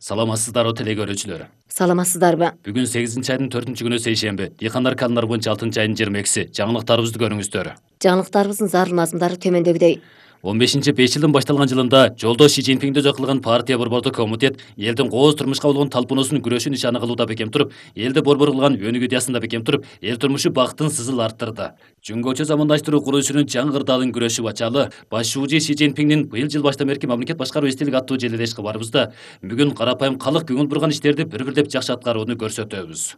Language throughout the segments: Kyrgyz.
Саламатсыздарбы теле көрүүчүлөр. Саламатсыздарбы? Бүгүн 8-айдын 4-күнү сейшемби. Дыйкандар календар боюнча 6-айдын 22-си. Жаңылыктарыбызды көрүңүздөр. Жаңылыктарыбыздын зарыл мазмундары төмөндөгүдөй. 15-5 жылдын башталган жылында жолдо Ши Цзиньпиңди өзү кылган партия борбордук комитет элдин кооз турмушка болгон талпуунусун күрөшүн нишаны кылууда бекем туруп, элди борбор кылган өнүгүү идеясында бекем туруп, эл турмушу бактын сызыл арттырды. Жөнгөчө замандаштыруу курулушунун жаңы кырдаалын күрөшүп ачалы баш шуужи Ши Цзиньпиңдин быйыл жыл баштан берки мамлекет башкаруу эстелик аттуу желелеш кабарыбызда бүгүн карапайым калк көңүл бурган иштерди бир-бирлеп жакшы аткарууну көрсөтөбүз.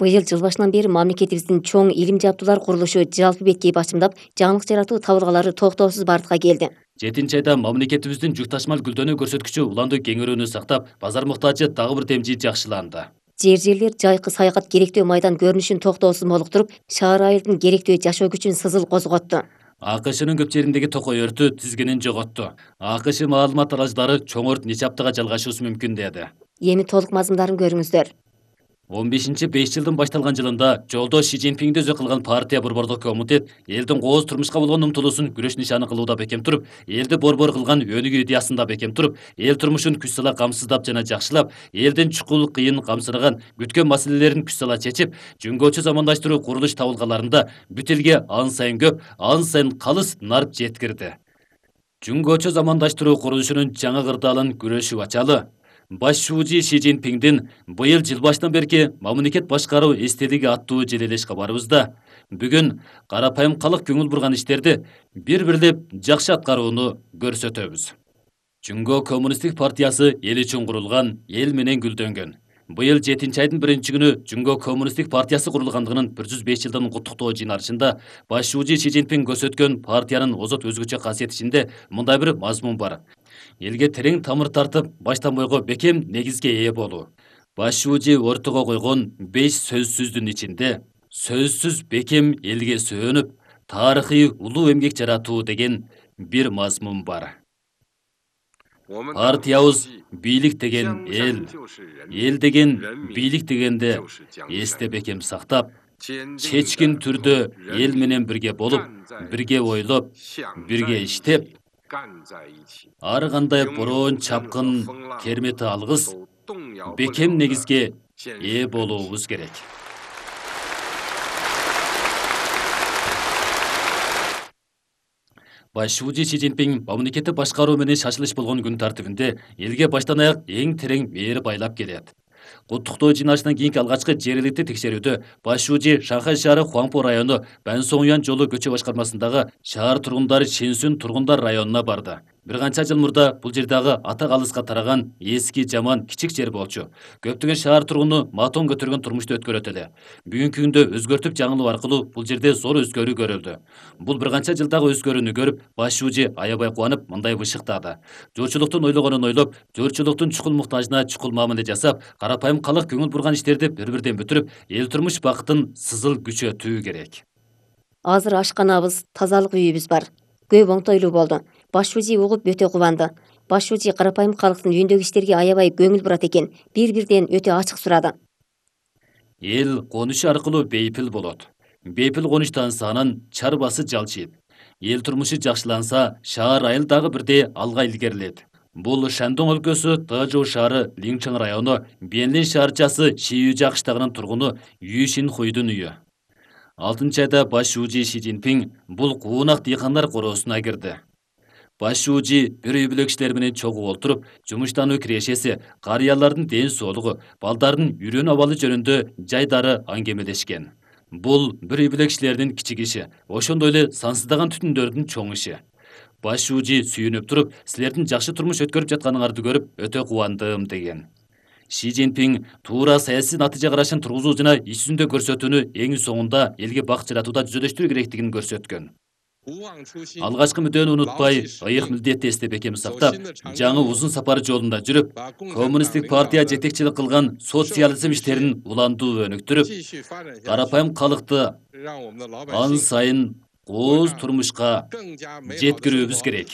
Быйыл жыл башынан бери мамлекетибиздин чоң илим жабдуулар курулушу жалпы беткей бачымдап, жаңылык жаратуу табылгалары токтоосуз бардыкка келди. 7-айда мамлекетибиздин жүкташмал гүлдөнүү көрсөткүчү уланды кеңөөрүүнү сактап, базар муктажы дагы бир демжи жакшыланды. Жерлер жайкы саякат керектөө майдан көрүнүшүн токтоосуз молуктуруп, шаар айылдын керектөө жашоо күчүн сызыл козготту. АКШнын көп жериндеги токой өртү тизгинин жоготту. АКШ маалымат аралаждары чоң өрт нече аптага жалгашуусу мүмкүн деди. Эми толук мазмундарын көрүңүздөр. 15-5 жылдын башталган жылында жолдо Ши Цзиньпиңди өзү кылган партия борбордук комитет элдин кооз турмушка болгон умтулуусун күрөш нишаны кылууда бекем туруп, элди борбор кылган өнүгүү идеясында бекем туруп, эл турмушун күч сала камсыздап жана жакшылап, элдин чукул кыйын камсыраган күткөн маселелерин күч сала чечип, жөнгөчө замандаштыруу курулуш табылгаларында бүт элге ан сайын көп, ан сайын калыс нарп жеткирди. Жөнгөчө замандаштыруу курулушунун жаңы кырдаалын күрөшүп ачалы баш шуужи Ши Цзиньпиңдин быйыл жыл баштан берки мамлекет башкаруу эстелиги аттуу желелеш кабарыбызда бүгүн карапайым калк көңүл бурган иштерди бир-бирлеп жакшы аткарууну көрсөтөбүз. Жөнгө коммунисттик партиясы эл үчүн курулган, эл менен гүлдөнгөн. Быйыл 7-айдын 1-күнү Жөнгө коммунисттик партиясы курулгандыгынын 105 жылдын куттуктоо жыйналышында баш шуужи Ши Цзиньпиң көрсөткөн партиянын озот өзгөчө касиети ичинде мындай бир мазмун бар. Элге терең тамыр тартып, баштан бойго бекем негизге ээ болуу. Баш шуужи ортого койгон 5 сөзсүздүн ичинде сөзсүз бекем элге сөөнүп, тарыхый улуу эмгек жаратуу деген бир мазмун бар. Партиябыз бийлик деген эл деген бийлик дегенде эсте бекем сактап, чечкин түрдө эл менен бирге болуп, бирге ойлоп, бирге иштеп, ар кандай бороон чапкын кермети алгыс бекем негизге ээ болуубуз керек. Баш шуужи Ши Цзиньпиң мамлекетти башкаруу менен шашылыш болгон күн тартибинде элге баштан аяк эң терең мээр байлап келет. Куттуктоо жыйналышынан кийинки алгачкы жер электик текшерүүдө баш шуужи Шанхай шаары Хуаңпо району Бансоңуян жолу көчө башкармасындагы шаар тургундары Ченсүн тургундар районуна барды. Бир канча жыл мурда бул жердагы ата калыска тараган эски жаман кичик жер болчу. Көптөгөн шаар тургуну матон көтөргөн турмушту өткөрөт эле. Бүгүнкү күндө өзгөртүп жаңылоо аркылуу бул жерде зор өзгөрүү көрүлдү. Бул бир канча жылдагы өзгөрүүнү көрүп, баш шуужи аябай кубанып мындай бышыктады. Журчулуктун ойлогонун ойлоп, журчулуктун чукул муктажына чукул мамиле жасап, карапайым калк көңүл бурган иштерди бир-бирден бүтүрүп, эл турмуш бактын сызыл күчөтүү керек. Азыр ашканабыз, тазалык үйүбүз бар. Көп оңтойлуу болду. Баш шуужи угуп өтө кубанды. Баш шуужи карапайым калктын үйүндөгү иштерге аябай көңүл бурат экен. Бир-бирден өтө ачык сурады. Эл конушу аркылуу бейпил болот. Бейпил конуштан санын чарбасы жалчыйт. Эл турмушу жакшыланса, шаар айыл дагы бирдей алга илгерилет. Бул Шандong өлкөсү Тажоу шаары Линчэн району Бенлин шаарчасы Шиюжа кыштагынын тургуну Ю Шинхуйдун үйү. 6-айда баш шуужи Ши Цзиньпиң бул куунак дыйкандар короосуна кирди. Баш шуужи бир үй бүлө кишилер менен чогуу олтуруп, жумуштануу кирешеси, карыялардын ден соолугу, балдардын үйрөнүү абалы жөнүндө жайдары аңгемелешкен. Бул бир үй бүлө кишилердин кичик иши, ошондой эле сансыздаган түтүндөрдүн чоң иши. Баш шуужи сүйүнүп туруп, силердин жакшы турмуш өткөрүп жатканыңарды көрүп, өтө кубандым деген. Ши Цзиньпиң туура саясий натыйжа карашын тургузуу жана иш жүзүндө көрсөтүүнү эң соңунда элге бакыт жаратууда жүзөлөштүрүү керектигин көрсөткөн. Алгачкы мүддөөнү унутпай, ыйык милдетти эсте бекем сактап, жаңы узун сапар жолунда жүрүп, коммунисттик партия жетекчилик кылган социализм иштерин уландуу өнүктүрүп, карапайым калкты ан сайын кооз турмушка жеткирүүбүз керек.